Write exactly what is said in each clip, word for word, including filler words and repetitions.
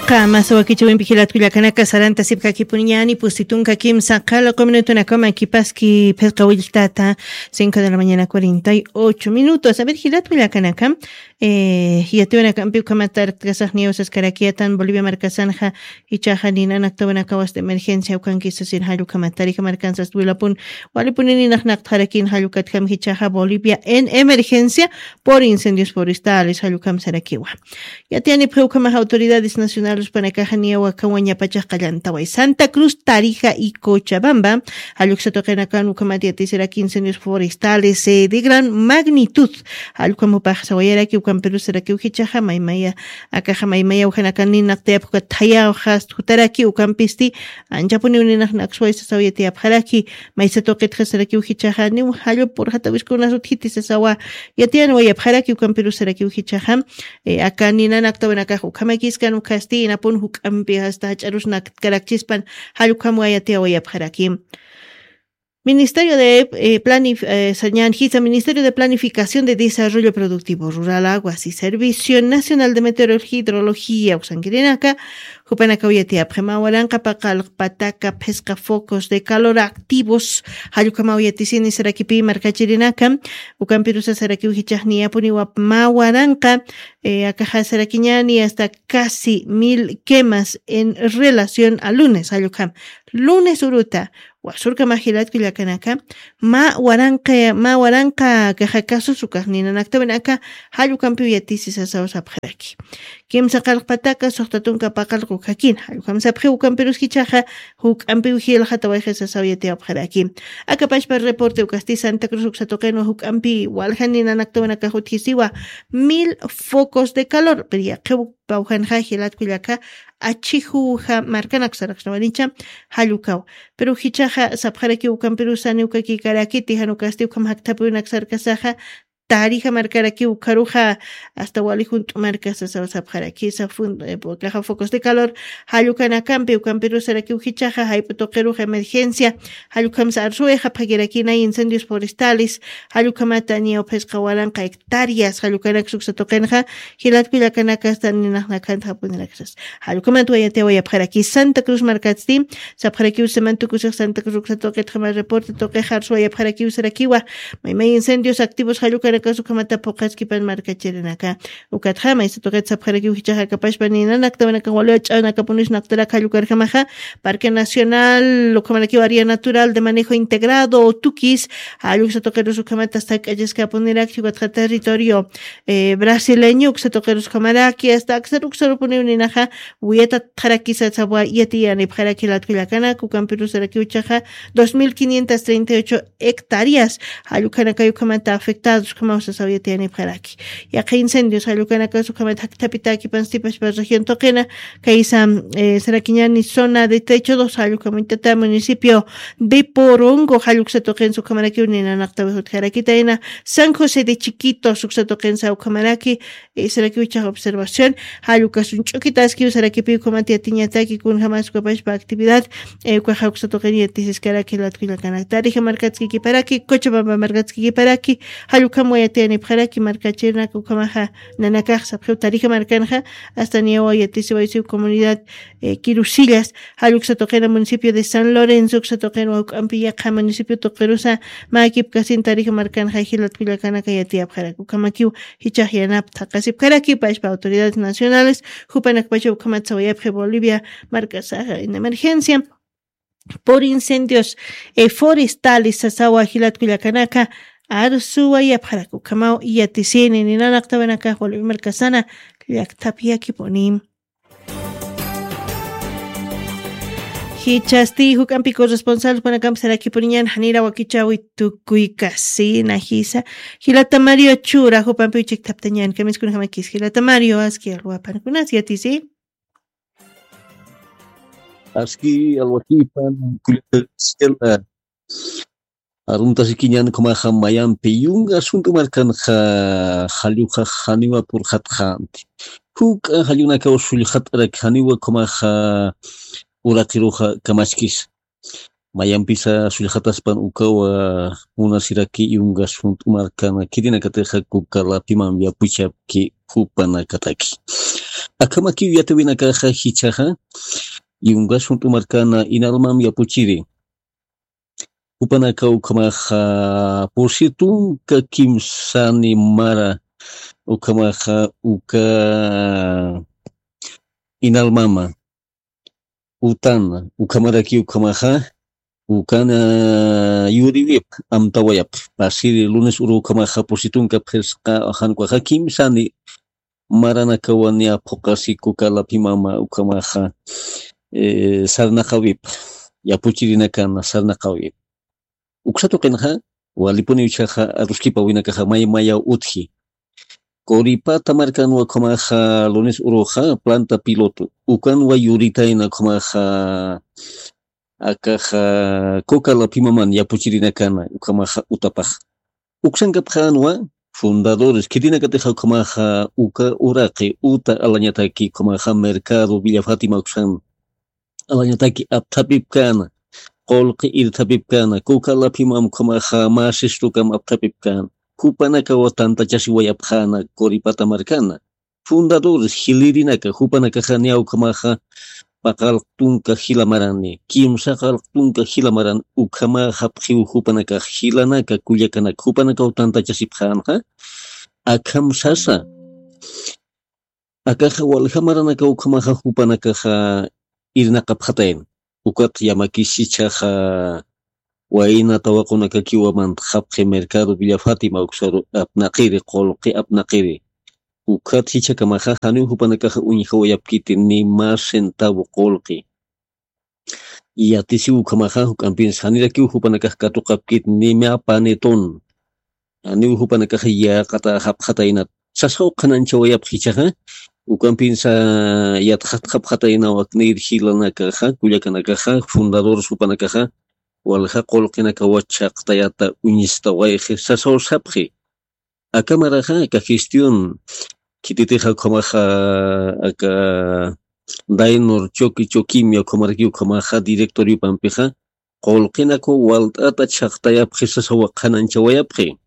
Qamasa wakichawimpi jilatkullakanaka sarantasipkakipuniñani pusti tunka kimsa qhalaqa minutunakama kipaski phisqa willtata cinco de la mañana cuarenta y ocho minutos. A ver, jilatkullakanaka, eh, yatiwanakampi ukhamata arktkasaxniyaw saskarakiyatan Bolivia markasanxa ichaxa ninanaktawanakawasta emergencia ukankisasir jallukhamata tarija markansast wilapun walipuni ninaqnaqtxarakin jallukatjam jichaxa Bolivia en emergencia por incendios forestales jallukhamsarakiwa. Yatiyanipxi ukhamax autoridades nacionales panakaxa niyaw akawañapachax qallantaway Santa Cruz, Tarija y Cochabamba, jalluksa tuqinakan ukhamat yatisiraki incendios forestales, eh, de gran magnitud jallukhamupax sawayaraki ukampirusarakiw jichaxa maymaya akaxa maymaya ukhanakan ninaqtayapxukat thayaxast jutaraki ukampisti anchapuniw ninaqnaksway sasaw yatiyapxaraki. Maysa tuqitxasarakiw jichaxa niw jallup purxatawiskunasut jiti sasawa yatiyanwayapxaraki ukampirusarakiw jichaxa, eh, aka ninanaktawanakax ukhamakiskan ukhasti inapun juk'ampi asta jach'arusnakkarakchispan jallukhamwa yatiyawayapxaraki. Ministerio de, eh, planif eh, sañan jisa Ministerio de Planificación de Desarrollo Productivo Rural, Aguas y Servicio Nacional de Meteorología y Hidrología uksankirinaka jupanakaw yatiyapxi mä waranqa paqallq pataka phisqa focos de calor activos jallukhamaw yatisini sarakipi markachirinaka. Ukampirusa sarakiw jichaxniyapuniwa mä waranqa, eh, akaxa sarakiñani hasta casi mil quemas en relación a lunes jallukham lunes uruta wasurkama jilatkullakanaka mä waranqa mä waranqa kaxa kasusukax ninanaktawanaka jallukampiw yatisi sasaw sapxaraki. Kimsa qallq pataka suxta tunka paqallq ukhakin jallukhamsapxiw ukampirus jichaxa juk'ampiw jilxatawayxi sasaw yatiyapxaraki. Akapachpa reporte ukasti Santa Cruz uksa tuqinwa juk'ampi waljan ninanaktawanakax utjisiwa mil focos de calor pero yaqhiw pawjanxa jilatkullaka achijuja markanak saraqsnawanicha jallukaw. Pero jichaxa sapxaraki ukampirusa niwkakikarakiti jan ukasti ukham jakthapiwinaksarkasaxa tarija markaraki ukharuxa asta wali junt'u marka sasaw sapxarakisa. Kaxa focos de calor jallukanakampi ukampirusarakiw jichaxa jayp'u tuqiruxa emergencia jallukhamsa arsuwayxapxakirakina incendios forestales jallukhamata niyaw phisqa waranqa hectáreas jallukanak suksa tuqinxa jilatkullakanakasta ninaqnakantxapuniraksas. Jallukhamat wayatiyawayapxaraki Santa Cruz markatsti sapxarakiw seman tukusix Santa Cruz uksa tuqitxama reporte tuqix arsuwayapxarakiw sarakiwa maymay incendios activos jallukanakas ukhamata phuqhaskipan markachirinaka. Ukatxa maysa tuqit sapxarakiw jichaxa akapachpa ninanaktawanakax wali ach'anakapunis naqtarak jallukarjamaxa Parque Nacional ukhamarakiw área natural de manejo integrado tukis jalluksa tuqirus ukhamata sak'achiskapunirak chukatxa territorio, eh, brasileño uksa tuqirus ukhamaraki asta aksar uksarupuniw ninaxa wiyatatxarakisa sawa yatiyanipxaraki latkullakanak ukampirusarakiw chaxa dos mil quinientas treinta y ocho hectáreas jallukhanakay ukhamata afectados ukhamaw sasaw yatiyanipxaraki. Yaqha incendios jallukanakas ukhamat jakthapitakipanstipaspa región tuqina kaysa, eh, sarakiñani zona de trecho dos jallukhamuñtata municipio de Porongo jalluksa tuqinsa ukhamarakiw ninanaqtawi jutjarakitayna San José de Chiquitos uksa tuqinsa ukhamaraki, eh, sarakiw chax observación jallukasun ch'ukitaskiw sarakipiw ukhamat yatiñataki kunjamas ukapashpa actividad, eh, ukaxa uksa tuqin yatisiskaraki latkullakanak tarija markatskikiparaki Cochabamba markatskikiparaki jallukham wayatiyanipxaraki markachirinaka ukhamaxa nanakax sapxiw tarija markanxa asta niyawa yatisiwaysiw comunidad, eh, Quirusillas jalluksa tuqina municipio de San Lorenzo uksa tuqinwa juk'ampi yaqha municipio tuqirusa mä kipkasin tarija markanxa jilatkullakanaka yatiyapxaraki ukhamakiw jichax yanaptha qasipkaraki pashpa autoridades nacionales jupanakpacha ukhamat sawayapxi Bolivia markasaxa en emergencia por incendios, eh, forestales sasawa jilatkullakanaka arsuwayapxaraki ukhamaw yatisini ninanaqtawanakax Bolivia markasana llakthapiyakipuni. Jichhasti juk'ampi corresponsal jupanakampi sarakipuniñan janira wakichawi tukuykasina jisa jilata Mario Chura jupampiw chikthaptañan kamiskunjamakis jilata Mario aski alwapankunas yatisi. Aski alwakipan kullata Arumtasikiñan ukhamaxa mayampi yunga sunt'u markanxa jalluxa janiwa purxatxanti juk'a jallunakaw sullxat'arak janiwa ukhamaxa uraqiruxa kamaskisa mayampisa sullxataspan ukawa munasiraki yunga sunt'u markan kirinakatixa kukalapiman yapuchapki jupanakataki. Akhamakiw yatawinakaxa jichhaxa, yungas junt'u markana Inalmam yapuchiri. Jupanaka ukhamaxa pusi tunka kimsani mara, ukhamaxa uka Inalmama, utan, ukhamaraki ukhamaxa, ukan yuriwip amtawayap, pasiri lunes uru ukhamaxa pusi tunka phisqa, jan ukaxa kimsani maranakawa niya phuqasi kuka laphimama ukhamaxa, eh, sarnaqawip, yapuchirinakana sarnaqawip. Uksa tuqinxa, walipuniw jichhaxa aruskipawinakaxa may mayaw utji. Coripata markanwa ukhamaxa lunes uruxa planta piloto. Ukanwa yuritayna ukhamaxa akaxa kuka laphimaman yapuchirinakana ukhamaxa utapax. Uksankapxänwa fundadores, khitinakatixa ukhamaxa uka uraqi uta alañataki ukhamaxa mercado Villa Fátima uksan alañataki apthapipkäna, qullqi irthapipkäna, kuka laphimam ukhamaxa mä sistukam apthapipkäna, jupanakawa tantachasiwayapxäna Coripata markana. Fundadores, jilirinaka, jupanakaxa niya ukhamaxa paqallq tunka jila marani, kimsa qallq tunka jila maran, ukhamaxapxiw jupanakax jilanaka, kullakanaka, jupanakaw tantachasipxänxa, akham sasa. Akaxa walja maranaka ukhamaxa jupanakaxa irnaqapxatayna. Ukat yamakis jichhaxa wayna tawaqunakakiwa mantxapxi mercado Villa Fátima uksaru apnaqiri, qullqi apnaqiri. Ukat jichhakamaxa janiw jupanakaxa uñjawayapkiti ni más centavo qullqi. Yatisiw ukhamaxa juk'ampinsa janirakiw jupanakax katuqapkit ni mä panetón. Janiw jupanakaxa yäqatäxapxataynat. Sasaw qhanañchawayapxi jichhaxa, ukampinsa yatxatxapxataynaw aknïr jilanakaxa, kullakanakaxa, fundadores jupanakaxa, walja qullqinakawa chhaqtayata uñstawayxi sasaw sapxi. Aka maraxa, aka gestión, khititixa ukhamaxa, aka Dainor Choqui Choquimia ukhamarakiw ukhamaxa directoriopampixa, qullqinakaw walt'ata chhaqtayapxi sasawa qhanañchawayapxi.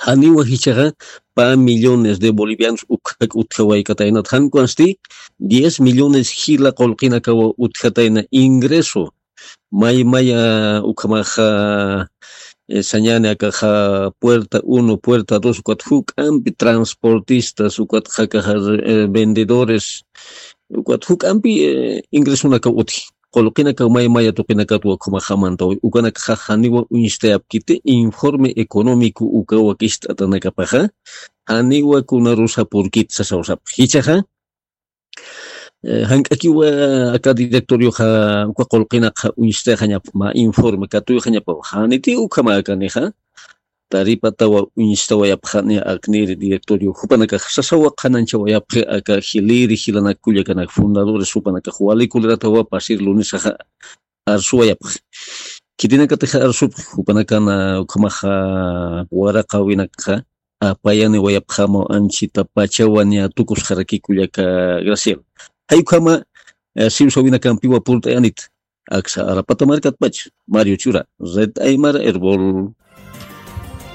Janiwa jichhaxa pä millones de bolivianos ukhak utjawaykataynat, jan ukansti diez millones jila qullqinakawa utjatayna ingreso. May maya ukhamaxa, eh, sañäni akaxa puerta uno, puerta dos, ukat juk'ampi transportistas, ukat jakaxa, eh, vendedores, ukat juk'ampi, eh, ingresonakaw utji. Qullqinakaw may maya tuqinakatwa ukhamaxa mantawi. Ukanakaxa janiwa uñstayapkiti informe económico uka wakicht'atanakapaxa, janiwa kunarusa purkit sasaw sapxi. Jichhaxa, eh, jank'akiwa aka directorioxa uka qullqinakxa uñstayxañap mä informe katuyxañapaw. Janiti ukhama akanixa, taripatawa uñstawayapxani aknïri directorio jupanakax sasawa qhanañchawayapxi aka jilïri jilanak kullakanak fundadores jupanakax wali coleratawa pasir lunesaxa arsuwayapxi. Khitinakatixa arsupxi, jupanakana ukhamaxa waraqawinakxa apayaniwayapxamaw anchita pachawa niya tukusxaraki kullaka Graciela. Jay ukhama, eh, siwsawinakampiwa purt'ayanit. Aksa Arapata markatpach, Mario Chura, Red Aymara Erbol.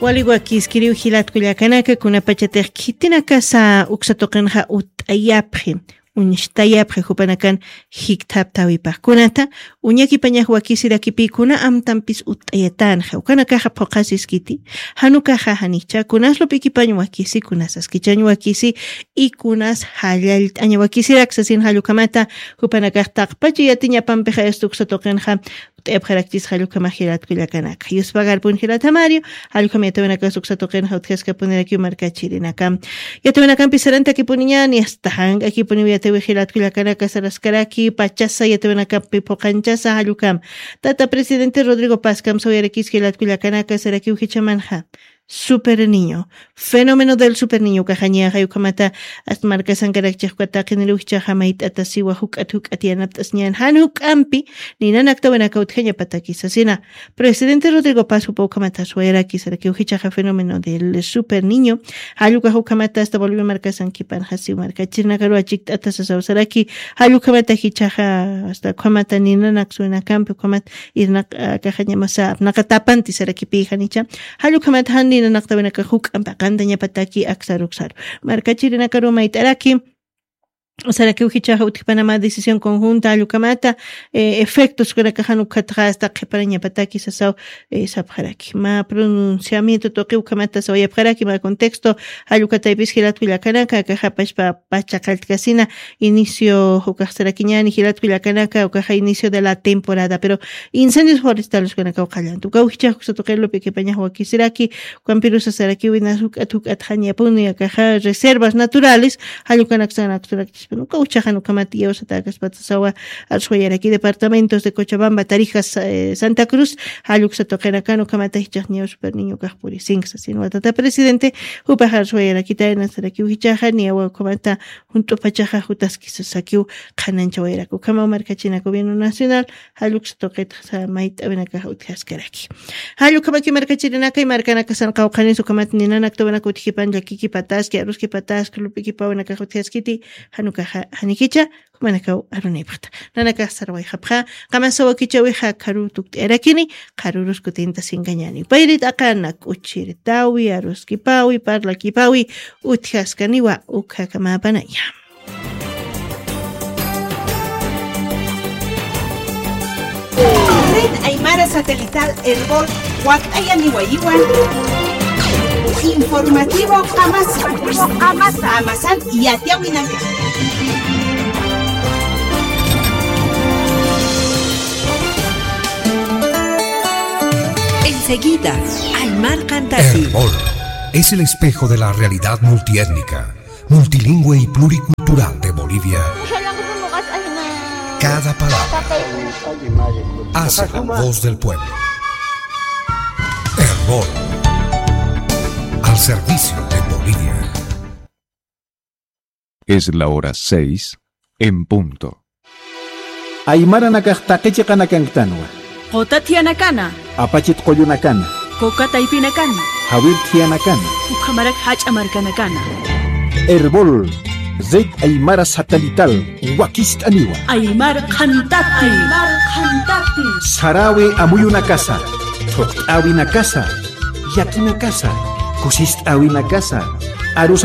Wali wakiskiriw jilat kullakanaka, kunapachatix khitinakasa uksa tuqinxa ut'ayapxi, uñstayapxi jupanakan jikthaptäwipax. Kunata uñakipañax wakisirakipï kuna amtampis ut'ayatänxa, ukanakaxa phuqhasiskiti, jan ukaxa janicha, kunas lup'ikipañ wakisi, kunas askichañ wakisi, y kunas jallallt'añ wakisirak sasin jall ukhamata, jupanakax taqpacha yatiñapampixa esta uksa tuqinxa ut'ayapxarakchis jall ukhamax jilat kullakanaka. Yuspagarpun jilat Mario, jall ukham yatawinakas uksa tuqinxa utjaskapunirakiw markachirinaka. Yatawinakampi sarantakipuniñäni, asta jank'akipuniw yatawix jilat kullakanaka, saraskaraki pachasa yatawinakampi phuqanchasa jall ukham. Tata presidente Rodrigo Paz kamsawayarakis jilat kullakanaka, sarakiw jichhamanxa. Super Niño. Fenómeno del Super Niño ukaxa niyaxa jay ukhamata, asta markasankarakchix uka taqiniruw jichhaxa mayt'ata siwa juk'at juk'at yanapt'asiñän jan juk'ampi ninanaktawinaka utjañapataki sasina. Presidente Rodrigo Paz jupa ukhamata suwayaraki sarakiw jichhaxa fenómeno del Super Niño. Jall ukax ukhamata asta Bolivia markasankipanxa siw markachirinakaruw chikt'ata sasaw saraki. Jall ukhamata jichhaxa asta ukhamata ninanak suwinakampi ukhamata irnaq, ah, akaxañamasa apnaqatapanti sarakipï janicha. Jall ukhamat jan ninanaqtawinaka juk'ampi aqantañapataki aksaruksaru. Markachirinakaru mayt'araki, sarakiw jichhaxa utjpanama decisión conjunta jall ukhamata, eh, efectos ukanakaxa jan ukatxa asta qhiparañapataki sasaw, eh, sapxaraki. Mä pronunciamiento tuqi ukhamata sawayapxaraki, mä contexto jall ukataypis jilat kullakanaka, akaxa pachpa pacha qalltkasina, inicio ukax sarakiñäni jilat kullakanaka, ukaxa inicio de la temporada, pero incendios forestales ukanakaw qallanta. Ukaw jichhax uksa tuqi Lupe Quepañax wakisiraki, ukampirusa sarakiw inas juk'at juk'at jañapuni akaxa reservas naturales, jall ukanaksa ukanaksa ukaw jichhaxa jan ukhamat iyawsatäkaspata sawa, arswayaraki departamentos de Cochabamba, Tarija, Sa-, eh, Santa Cruz, jall uksa tuqinakan ukhamata jichhax niyaw Super Niño ukax purisinki sasin watata presidente, jupax arswayarakitayna sarakiw jichhaxa niyawa ukhamata junt'upachaxa jutaski sasakiw qhananchawayaraki. Ukhamaw markachina gobierno nacional, jall uksa tuqitxa mayt'awinakax utjaskaraki. Jall ukhamaki markachirinakay, markanakasan qawqhanis ukhamat ninanak tuwinaka utjipan llakikipataski, aruskipataski, lup'ikipäwinakax utjaskiti, jan ukaxa janikicha, jumanakaw arunipxta. Nanakax sarwayxapxa, qamasa wakichäwixa qharu tukt'ayarakini, qharürus kutintasinkañäni. Payrit aqana, k'uchirtäwi, aruskipäwi, parlakipäwi, utjaskaniwa, ukhakamäpanaya. Red Aymara Satelital Erbol wakt'ayaniwayiwan. Informativo Amasa. Amasan yatiyawinaka. Enseguida, Aymar Cantati. Erbol es el espejo de la realidad multiétnica, multilingüe y pluricultural de Bolivia. Cada palabra hace la voz del pueblo. Erbol, al servicio de Bolivia. Es la hora seis en punto. Aymaranakax taqi chiqanakanktanwa. Quta thiyanakana. Apachit qullunakana. Kuka taypinakana. Jawir thiyanakana. Ukhamarak jach'a markanakana. Erbol, Red Aymara Satelital, wakist'aniwa. Aymar Qhantati. Aymar Qhantati. Sarawi amuyunakasa, thuqt'äwinakasa, llakinakasa, kusist'äwinakasa, arusa